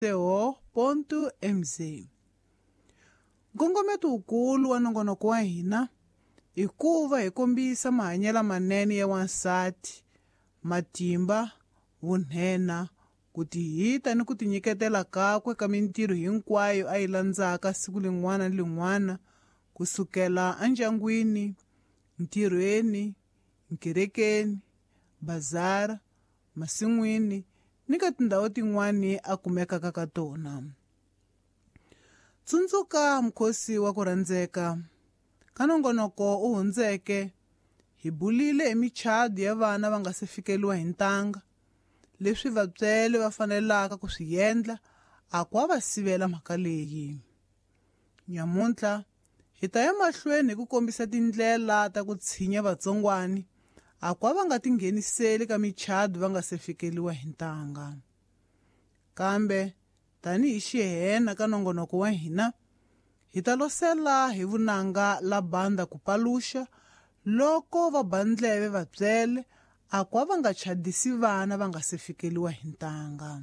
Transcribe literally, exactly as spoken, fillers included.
Co ponto M Z. Nkongometo wukulu wa nongonoko wa hina i ku va hi kombisa mahanyelo manene ya wansati, matimba, vunhenha, ku tihita ni ku tinyiketela kakwe ka mintirho hinkwayo a yi landzaka siku lin'wana ni lin'wana, kusukela endyangwini, ntirhweni, nkerekeni, bazara, masin'wini ni ka tindhawu tin'wana a kumekaka ka tona. Tsundzuka mukhosi wa ku rhandzeka ka nongonoko u hundzeke, hi bulile hi michado ya vana va nga se fikeliwa hi ntanga, leswi vatswele va fanelaka ku swi endla a ku va sivela mhaka leyi. Nyamuntlha hi ta ya mahlweni hi ku kombisa tindlela ta ku tshinya vatsongwani a ku va nga tingheniseli ka michado va nga se fikeliwa hi ntanga. Kambe tanihi xihena ka nongonoko wa hina, hi ta losela hi vunanga la banda ku paluxa loko va ba ndleve vatswele a ku va nga chadisi vana va nga se fikeliwa hi ntanga.